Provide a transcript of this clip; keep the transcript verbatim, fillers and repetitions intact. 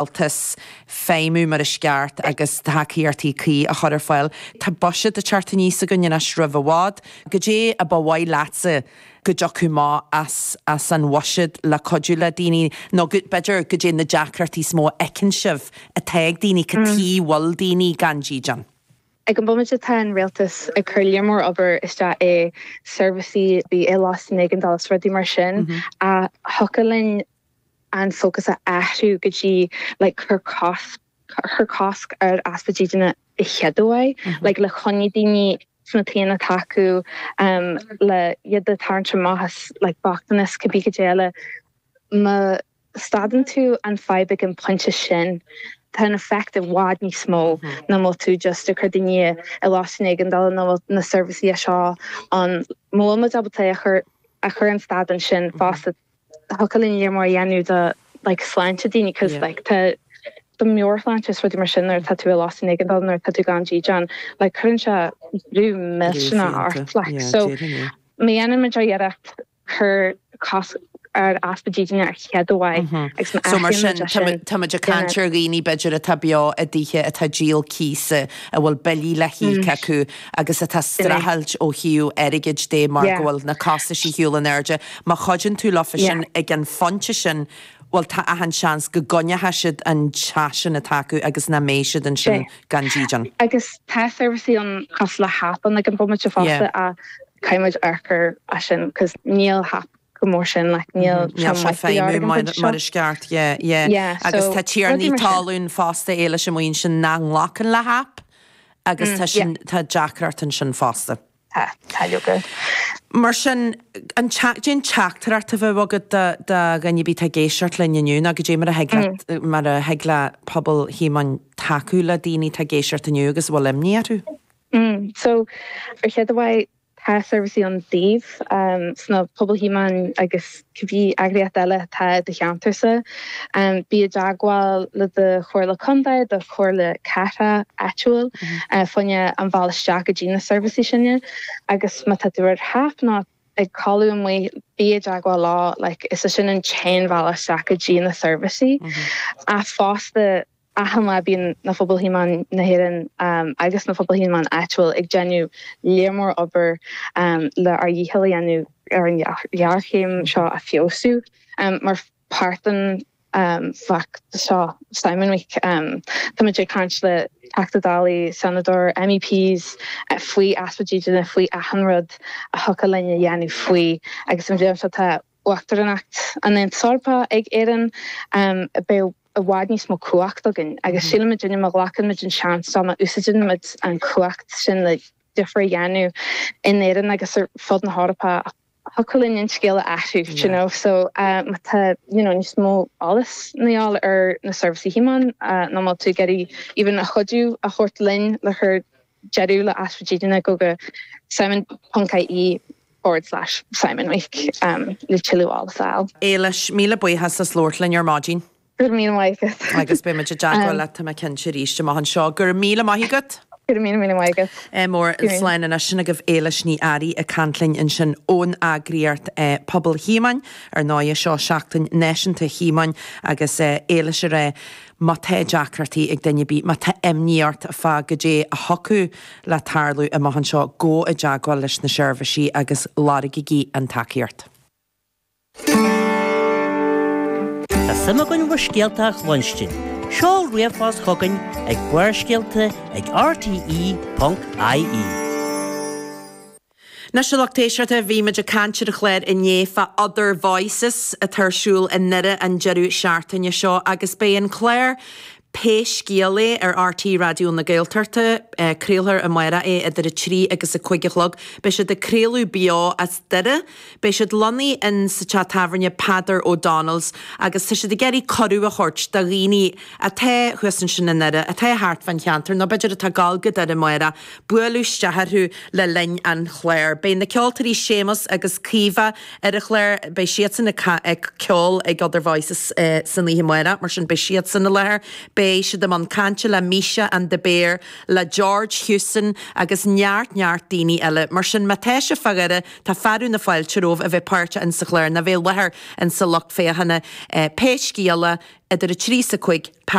rialtas feidhmiú mar is ceart agus tacaíochtaí cuí a chur ar fáil. Tá buiséad ag teacht aníos againn anois roimh i bhfad, Goidé a ba mhaith leatsa go dtiocfadh amach as as an bhuiséad le cuidiú le daoine nó b'fhéidir goidé na deacrachtaí is mó a fheiceann sibh atá ag daoine cad chuige a bhfuil daoine gan dídean. Ag an bhomaite tá an rialtas ag cur lear mór obair isteach i seirbhísí bí i lóistín éigeandála is rudaí mar sin a thiocfadh linn an focus a athrú go dtí like cur cos cur cosc ar easpa dídine i chéad like le coinneáil daoine sna tithe atá acu um, le iad a tharraingt amach as like bochtanas cibé cad eile má stadann tú an fadhb ag an pointe sin tá an effect i bhfad níos mó ná má tú just ag cur daoine i lóistín éigeandála nó na seirbhísí seo an má bhfuil muid ábalta a chur a chur an stad ansin fosta thiocfadh linn lear mór a dhéanamh do like sláinte daoine cos Yeah. like tá do mheabhairshláinte is rudaí mar sin nuair atá tú i lóistín éigeandála nuair atá tú gan dídean like cuireann sé brú millteanach ort like so má dhéanann muid iarracht cur cosc ar easpa dídine ar chéad uair agus má So mar sin athraíonn muid é sin, tá muid ag caint ar dhaoine b'fhéidir atá beo i dtithe atá díol cíosa a bhfuil billí le híoc acu agus atá streachailt ó thaobh airgid de mar Yeah. go bhfuil na costais ar shiúl in airde. Má chuidíonn tú leofa Yeah. sin ag an phointe sin, well tá achan seans go gcoinneoidh siad an teach sin atá acu agus nach mbeidh siad ansin Sé. gan dídean. agus tá seirbhísí ann cosúil le HAP an ag an bomaite fosta Yeah. a caithfimid amharc air sin cos níl HAP go mór sin like níl Níl sé feidhmiú mar mar is ceart yeah, yeah. Yeah, agus so tá tiarnaí rudaí mar sin. talún fosta éile sem muoin sin nach nglacann le HAP agus tá sin tá deacracht ansin fosta. Tá tá leoga. Mar sin an cén teachtaireacht a bheadh agat do do dhuine ar bith atá ag éisteacht linn inniu ná goidé mar a thig le mar a thig le pobal Thíomáin tacú le daoine atá ag éisteacht inniu agus a bhfuil imní orthu? Mm, so ar chéad uair tá seirbhísí ann daoibh um, sna Pobal Thíomáin agus cibé eagraíocht eile atá i do cheantarsa. Um, bí i dteagmháil le do chomhairle contae do chomhairle cathrach áitiúil mm -hmm. uh, fá choinne an bealach isteach go dtí na seirbhísí sin agus má tá tú ar HAP nó ag codladh amuigh bí i dteagmháil leo like, is é sin an t-aon bhealach isteach go dtí na seirbhísí. Mm -hmm. A fosta achan lá bíonn na Pobal Thíomáin na hÉireann um, agus na Pobal Thíomáin áitiúil ag déanamh lear mór obair um, le ár ndícheall a dhéanamh ar an ghéarchéim seo a fheabhsú um, mar páirt den um, fheachtas seo Simon Week um, Tá muid ag caint le Teachtaí Dála Seanadóirí MEPs uh, faoi easpa dídine faoi achan rud a thiocfadh linn a dhéanamh faoi agus an bhliain seo tá uachtaránacht an Aontais Eorpaigh ag Éirinn um, beidh i bhfad níos mó cumhacht againn agus mm. sílim duine má ghlacann muid an seans má úsáideann muid an chumhacht sin le difear a dhéanamh in Éirinn agus ar fud na hEorpa thiocfadh linn an scéal a athrú you know so um, tá you know níos mó eolas le fáil ar na seirbhísí Thíomáin uh, nó má tú ag iarraidh even a chuidiú a thabhairt linn le cur deireadh le easpa dídine go go simon.ie forward slash Simon Week um, le tuilleadh eolais a fháil. Éilis míle buíochas as labhairt linn ar maidin. Gur mí maith agus beidh muid i dteagmháil leat tá mé cinnte arís amach anseo gur míle maith agat. Gur mí mí maith Mór slán anois sin agaibh Éilis Ní Fhearraigh ag caint linn ansin ón eagraíocht Pobal Thíomáin ar ndóigh seo seachtain náisiúnta Thíomáin agus Éilis a rá má tá deacrachtaí ag duine ar bith, má tá imní ort fá goidé a thiocfadh le tarlú amach anseo gabh i dteagmháil leis na seirbhísí agus lorgaigí an tacaíocht. Tá suim againn bhur scéalta a chluinstin. Seol ríomhphost chugainn ag Barrscéalta ag rte.ie. Anois a lucht éisteachta bhí muid ag caint ar an chlár inné fá Other Voices atá ar siúl i nDoire an deireadh seachtaine seo agus beidh an clár Pé Scéal É ar RTÉ Raidió na Gaeltachta craolfar amárach é idir a trí agus a cúig a chlog, Beidh siad ag craoladh beo as Doire, Beidh siad lonnaithe in sa teach tábhairne Peadar O'Donnell's agus tá siad ag iarraidh cuireadh a thabhairt do dhaoine atá thuas ansin i nDoire, atá thart fán cheantar nó b'fhéidir atá ag gabháil go Doire amárach, bualadh isteach orthu le linn an chláir. Beidh na ceoltóirí Séamus agus Caoimhe ar an chlár, beidh siadsan ag ceol ag Other Voices uh, san oíche amárach, mar sin beidh siadsan i láthair. Beidh siad i mbun cainte le Misha and the Bear, le George Hewson agus neart neart daoine eile. Mar sin má tá sibh fá Dhoire, tá fearadh na fáilte romhaibh a bheith páirteach in sa chlár, nó bheith i láthair in sa lucht féachana. Pé Scéal É, idir a trí is a cúig.